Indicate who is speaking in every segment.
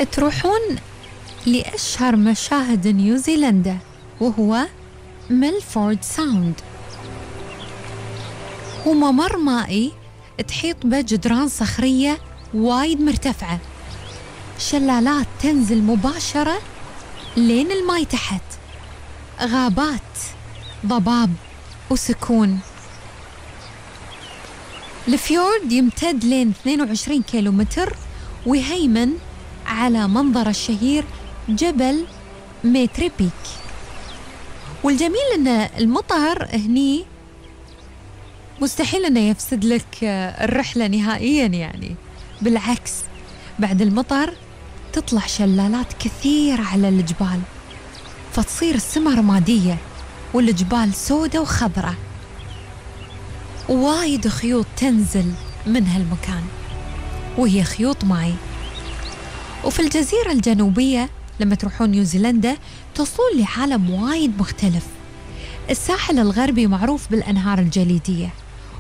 Speaker 1: تروحون لأشهر مشاهد نيوزيلندا وهو ميلفورد ساوند، هو ممر مائي تحيط به جدران صخرية وايد مرتفعة، شلالات تنزل مباشرة لين الماي تحت، غابات، ضباب وسكون. الفيورد يمتد لين 22 كيلومتر ويهيمن على منظر الشهير جبل ميتري بيك. والجميل أن المطر هني مستحيل أنه يفسد لك الرحلة نهائيا، يعني بالعكس بعد المطر تطلع شلالات كثيرة على الجبال، فتصير السماء رمادية والجبال سودة وخضرة، وايد خيوط تنزل من هالمكان وهي خيوط ماي. وفي الجزيرة الجنوبية لما تروحون نيوزيلندا تصلون لعالم وايد مختلف. الساحل الغربي معروف بالأنهار الجليدية،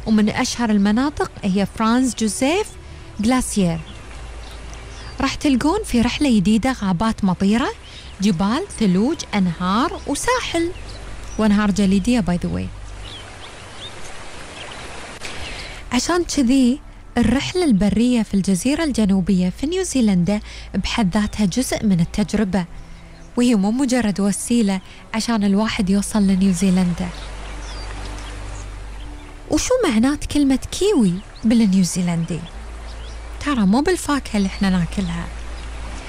Speaker 1: ومن أشهر المناطق هي فرانز جوزيف غلاسيير. راح تلقون في رحلة جديدة غابات مطيرة، جبال، ثلوج، أنهار وساحل وأنهار جليدية باي ذا واي. عشان كذي الرحلة البرية في الجزيرة الجنوبية في نيوزيلندا بحد ذاتها جزء من التجربة، وهي مو مجرد وسيلة عشان الواحد يوصل لنيوزيلندا. وشو معنات كلمة كيوي بالنيوزيلندي؟ ترى مو بالفاكهة اللي احنا ناكلها،